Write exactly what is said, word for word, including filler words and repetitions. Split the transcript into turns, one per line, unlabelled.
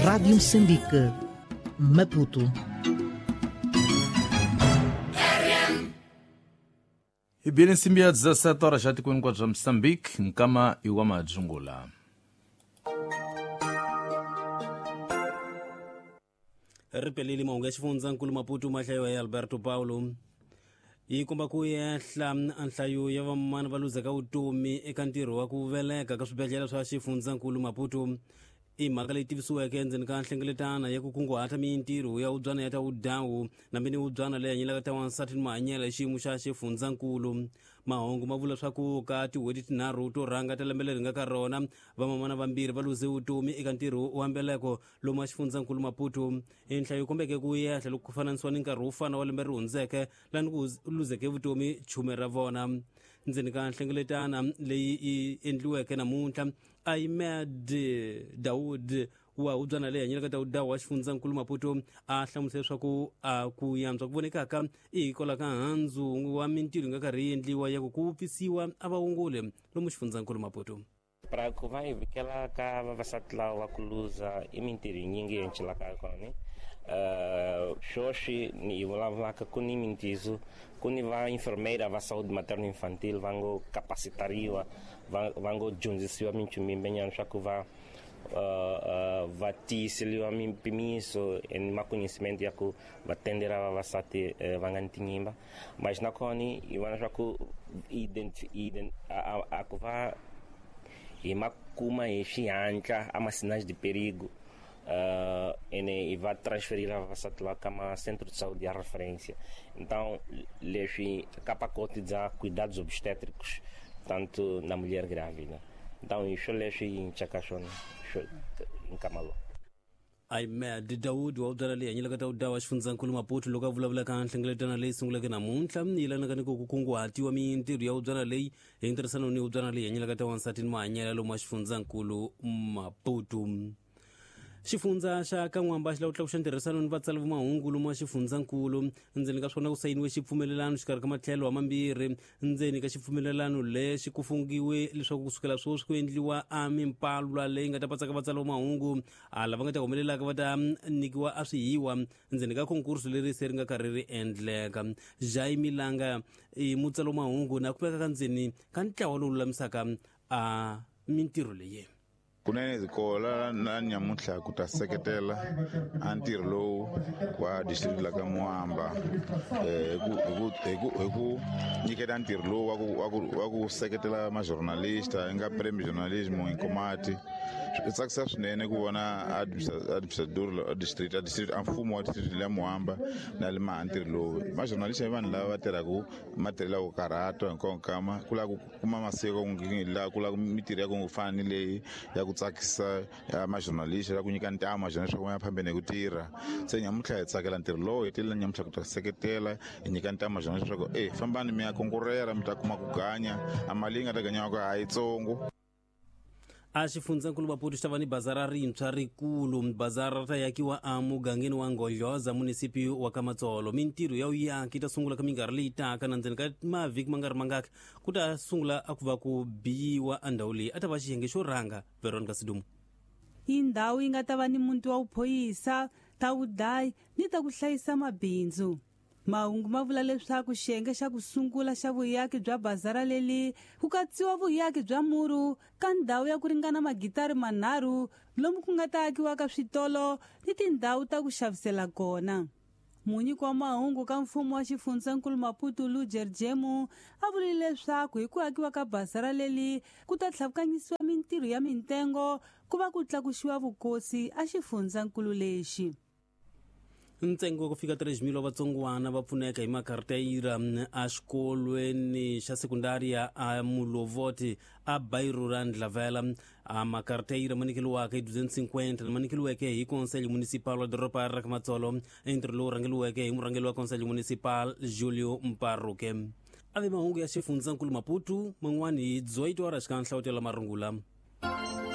Rádio Moçambique, Maputo.
Ibili nsimbi ya dezessete horas já tikweni kwa bya Moçambique, nkama iwa madzungula.
Ripeleli mahungu ya xifundzankulu Maputo mahlayiwa ya Alberto Paulo. Yi komba ku ehla nhlayo ya vamana va luzaka vutomi eka ntirho wa ku veleka ka swibedhlele swa xifundzankulu Maputo. I mhaka leyi tivisiweke endzeni ka nhlengeletano ya ku kunguhata mintirho ya wubyana ya ta wudawu na mini wubyana leyi hanyelaka ta wansati ni mahanyelo hi xiyimo xa xifundzankulu. Mahungu ma vula swa ku ka tin'hweti tinharhu to rhanga ta lembe leri nga ka rona, vamamana vambirhi va luze vutomi eka ntirho wa mbeleko lomu wa xifundzankulu Maputo. I nhlayo yi kombeke ku ehla loko ku fananisiwa ni nkarhi wo fana wa lembe ri hundzeke lani ku luzeke vutomi chume ra vona. Ndzeni ka nhlengeletano leyi yi endliweke namuntlha, Ahmed Daud wa hubyana leyi hanyelaka ta wudawu wa xifundzankulu Maputo a hlamusela leswaku a ku yantswa ku vonekaka i hikwalaho ka handzu wa mintirho yi nga karhi yi endliwa ya ku ku vupfisiwa a vaongoli lomu xifundzankulu Maputo.
Para ku va hi vikela ka vavasati lava va ku luza i mintirho yinyingi yi encelaka kona. Uh, sweswi ni vulavulaka ku ni mintizo ku ni va enfermeira va saúde materno infantil va ngo capacitariwa va, va ngo dyondzisiwa minchumu yimbenyana swa ku va uh, uh, va tiyiseliwa mimpimiso ni maconhecimento ya ku va tendera vavasati uh, va nga ni tinyimba. Mas nakona hi vona swa ku ident, ident, a, a, a ku va hi ma kuma hi xihatla a ma sinais de perigo. Uh, ene e vai transferir a vavasati lá kama centro de saúde de referência. Então, leswi ka pacote de cuidados obstétricos, tanto na mulher grávida. Então, isso leswi nchaka swona nkamalo.
Ahmed Daud wa hubyana leyi hanyelaka ta wudawu wa xifundzankulu Maputo loko a vulavula ka nhlengeletano leyi sunguleke namuntlha yi yelanaka ni ku kunguhatiwa mintirho ya hubyana leyi hi ntirhisano ni hubyana leyi hanyelaka ta wansati ni mahanyelo lomu wa xifundzankulu Maputo. Xifundza xa Kan'wamba xi lava ku tlakuxa ntirhisano ni vatsali va mahungu lomu wa xifundzankulu. Ndzeni ka swona ku sayiniwe xipfumelelano xikarhi ka matlhelo wa mambirhi. Ndzeni ka xipfumelelano lexi ku fungiwe leswaku kusukela sweswi ku endliwa a mimpalwa leyi nga ta patsaka vatsali va mahungu a lava nga ta humelelaka va ta nyikiwa a swihiwa ndzeni ka konkurso leri se ri nga karhi ri endleka. Jaime Langa i mutsali wa mahungu na kumeka ka ndzeni ka ntlawa lowu lulamisaka a mintirho leyi.
Kunene zikola na nyamuntlha ku ta seketela a ntirho lowu wa district la ka Moamba hi ku hi ku hi ku nyiketa ntirho lowu wa ku wa ku wa ku seketela ma journalista nga premi journalism inkomati. Swi tsakisa swinene ku vona administrador district a district a mfumo wa district la Moamba na le ma ntirho lowu. Ma journalista i vanhu lava va tirhaka matirhelo ya ku karhata hinkwawo kama ku lava ku kuma masiko la ku lava mintirho ya ku fana ni leyi ya ku tsakisa ya ma-journalist ya ku nyika ntamu ma-journalist swa ku ya phambeni hi ku tirha. Se nyamuntlha hi tsakela ntirho lowu hi tile nyamuntlha ku ta seketela hi nyika ntamu ma-journalist swa ku e fambani mi ya konkurera mi ta kuma ku ganya a mali yi nga ta ganyiwaka a yitsongo.
A xifundzankulu Maputo xi ta va ni bazara rintshwa rikulu. Bazara ra ta yakiwa a mugangeni wa Nghodloza munisipi wa Kamatsolo. Mintirho ya vuyaki yi ta sungula ka minkarhi leyi taka na ndzeni ka mavhiki ma nga ri mangaki ku ta sungula a ku va ku biyiwa a ndhawu leyi a ta va xiyenge xo rhanga. Veronica Sidumo.
I ndhawu yi nga ta va ni muti wa vuphorisa ta vudayi ni ta ku hlayisa mabindzu. Mahungu ma vula leswaku xiyenge xa ku sungula xa vuyaki bya bazara leli ku katsiwa vuyaki bya muru ka ndhawu ya ku ringana magitari manharhu lomu ku nga ta akiwa ka switolo ni tindhawu ta ku xavisela kona. Munyiki wa mahungu ka mfumo wa xifundzankulu Maputo Lujer Jemu a vurile leswaku hi ku akiwa ka bazara leli ku ta tlhavukanyisiwa mintirho ya mintengo ku va ku tlakuxiwa vukosi a xifundzankulu lexi.
Ntsengo wa ku fika três mil wa vatsongwana va pfuneka hi makarteyira a xikolweni xa sekundaria a Mulovoti a bairro ra Ndlavela. A makarteyira ma nyikeliwaka hi duzentos e cinquenta ma nyikeliweke hi Conselho Municipal wa doroba ra Kamatsolo, ntirho lowu rhangeliweke hi murhangeri wa Conselho Municipal Julio Mparuke. A ve mahungu ya xifundzankulu Maputo man'wani hi dezoito horas ka nhlawutelo marungula.